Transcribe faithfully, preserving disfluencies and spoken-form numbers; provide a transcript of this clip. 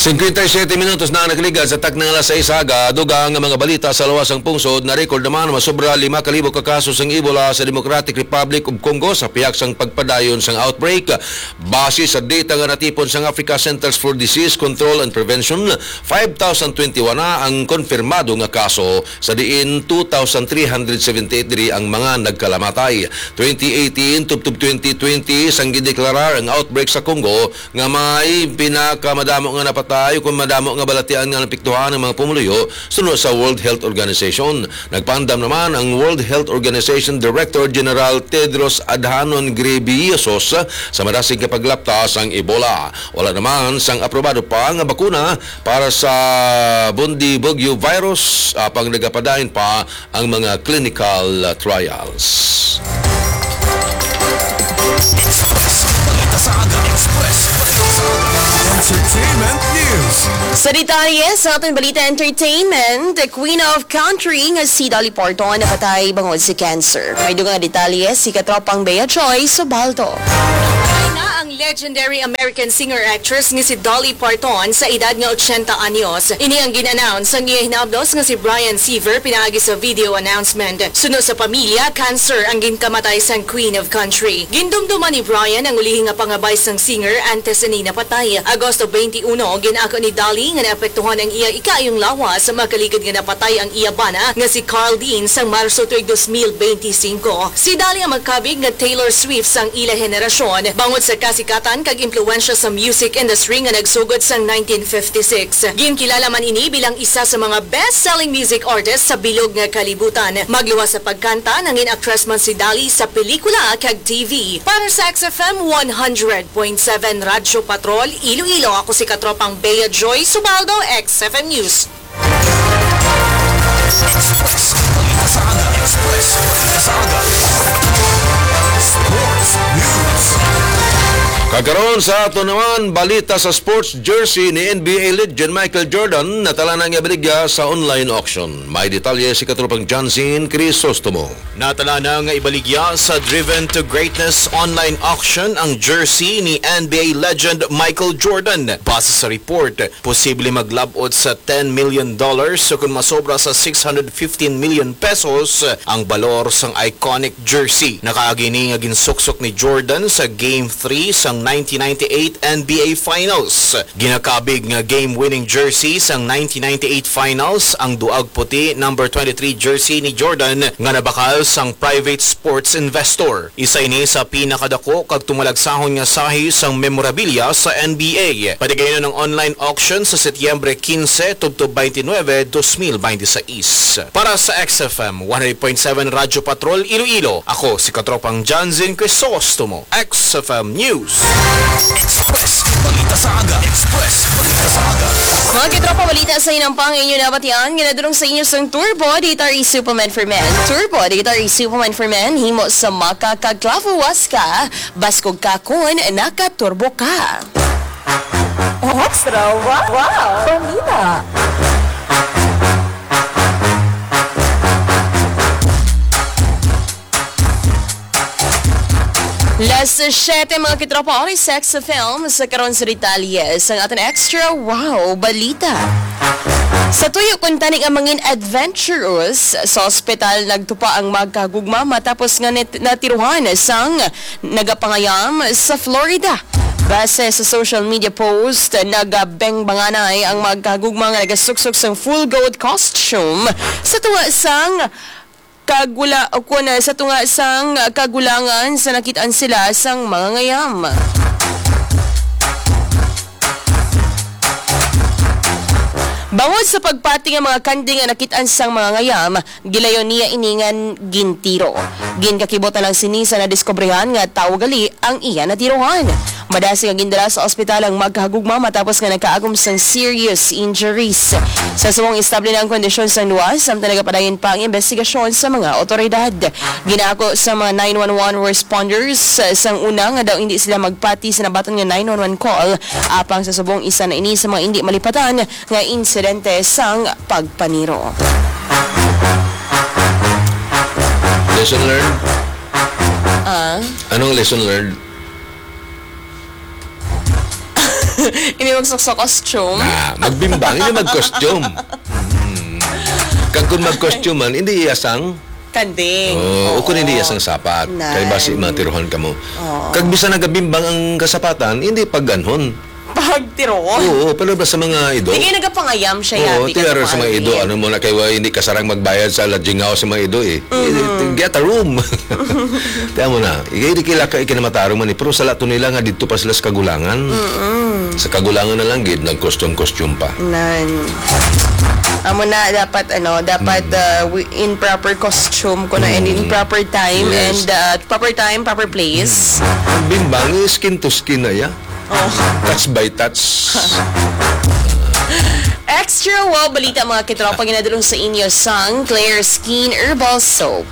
Singkwenta y siyete minutos na ang nakaligad sa takna nga alas sais aga. Dugang nga mga balita sa lawas sang pungsod. Na-record naman masobra lima ka libo ka kaso sang Ebola sa Democratic Republic of Congo sa pihak sang pagpadayon sang outbreak. Base sa data nga natipon sang Africa Centers for Disease Control and Prevention, five thousand twenty-one na ang konfirmado nga kaso, sa diin two thousand three hundred seventy-eight diri ang mga nagkalamatay. Twenty eighteen tubtob twenty twenty, sang gideklarar ang outbreak sa Congo, nga may pinakamadamo nga napatay o kung madamo nga balatian nga napiktuhan ang mga pumuluyo, suno sa World Health Organization. Nagpaandam naman ang World Health Organization Director General Tedros Adhanom Ghebreyesus sa madasig nga paglapta sang Ebola. Wala naman sang aprobado pa nga bakuna para sa Bundibugyo virus, apang nagapadayon pa ang mga clinical, uh, trials. Express. Balita sa Aga. Express. Balita sa Aga. Entertainment News. Sa detalye sa aton balita entertainment, the Queen of Country nga si Dolly Parton napatay bangod sa cancer. May dugang nga detalye si katropang Bea Joy Subaldo. Patay na ang legendary American singer-actress nga si Dolly Parton sa edad nga ochenta anyos. Ini ang gin-announce sang iya hinabdos nga si Brian Seaver pinaagi sa video announcement. Suno sa pamilya, cancer ang ginkamatay sang Queen of Country. Gindumduman ni Brian ang ulihi nga pangabay sang singer antes ini napatay. Agosto twenty-one, gin-ako ni Dolly nga naapektuhan ang iya ikaayong lawas makaligad nga napatay ang iya bana nga si Carl Dean sang Marso tuig dos mil benti singko. Si Dolly ang makabig nga Taylor Swift sang ila henerasyon bangod sa kasikatan kag impluwensya sa music industry nga nagsugod sang nineteen fifty-six. Ginkilala man ini bilang isa sa mga best-selling music artist sa bilog nga kalibutan. Magluwas sa pagkanta, nangin aktres man si Dolly sa pelikula kag T V. Para sa X F M one hundred point seven Radyo Patrol, Iloilo, ako si katropang Bea Joy Subaldo, X F M News. Express. Balita sa Aga. Express. Balita sa Aga. Sports News. Kagkaron sa ato naman, balita sa sports jersey ni N B A legend Michael Jordan, natala na nga ibaligya sa online auction. May detalye si katropang Jansen Crisostomo. Natala na nga ibaligya sa Driven to Greatness online auction ang jersey ni N B A legend Michael Jordan. Base sa report, posible maglab-ot sa ten million dollars, so kon masobra sa six hundred fifteen million pesos ang balor sang iconic jersey. Nakaagi ni nga ginsuksok ni Jordan sa Game three sang nineteen ninety-eight N B A Finals. Ginakabig nga game-winning jersey sang nineteen ninety-eight Finals ang duag puti number twenty-three jersey ni Jordan nga nabakal sang private sports investor. Isa ini sa pinakadako kag tumalagsahon nga sahi sang memorabilia sa N B A. Patigayon ang online auction sa Setyembre quince tubtob twenty-nine, dos mil benti sais. Para sa X F M one hundred point seven Radyo Patrol Iloilo, ako si Katropang Janzen Crisostomo, X F M News. Express. Balita sa Aga. Express. Balita sa Aga. Mga katropa, balita sa inampang inyo nabatian nga nadulong sa inyo sang Turbo Dietary Supplement for Men. Turbo Dietary Supplement for Men, himo sa maca kag clavo huasca. Baskog ka kon nakaturbo ka. Extra wow, wow. Balita. Las siyete, mga katropa, oras sa X F M, sa karon sa detalye sang aton extra wow balita. Sa tuyo kuntani nga mangin adventurous, sa ospital nagtupa ang magkagugma matapos nga nit-, natiruhan sang nagapangayam sa Florida. Base sa social media post, nagabengbanganay ang magkagugma nga nagasuksok sang full goat costume sa tunga sang kagula-, o kun, sa tunga sang kagulangan sa nakit-an sila sang mga ngayam. Bangod sa pagpati nga mga kanding nga nakit-an sang mga ngayam, gilayon niya ini nga gintiro. Ginkakibot na lang sini sa nadiskobrehan nga tawo gali ang iya natirohan. Madasig nga gindala sa ospital ang magkahagugma matapos nga nakaagom sang serious injuries. Sa subong, estable na ang kondisyon sang duwa, samtang nagapadayon pa ang investigasyon sa mga awtoridad. Ginako sa mga nine one one responders, eh, sang una nga daw hindi sila magpati sa nabaton nga nine one one call, apang sa subong, isa na ini sa mga hindi malipatan nga insidente sang pagpaniro. Lesson learned? Ah? Anong lesson learned? Hindi magsuksok costume. Na, magbimbang, hindi mag-costume. Hmm. Kag kung mag-costume man, hindi iya sang, Kanding. oh, Oo. o kung hindi iya sang sapat. Nan. Kay basi matiruhan ka mo. Oo. Kag bisan nagabimbang ang kasapatan, hindi pagganhon. Pagtiroon. Oo, pero ba sa mga ido? Di kayo nagapangayam siya, Oo, yabi ka tiyara naman, sa mga ido, Alvin. Ano mo na kayo, hindi kasarang magbayad sa lodgingaw sa mga ido eh. Eh, Get a room. Tiyan mo na, ikay di kila ka ikinamatarong man eh, pero sa lato nila nga dito pa sila sa kagulangan. Sa kagulangan na lang gid, nag-costume-costume pa. Nan. Amo na dapat ano, dapat uh, wi- in proper costume ko na and in proper time Mm. Yes. and uh, proper time, proper place. Ang bimbang is skin to skin na ya. Oh. Touch by touch. Extra wow balita mga kitropa ginadulong sa inyo sang Claire Skin Herbal Soap.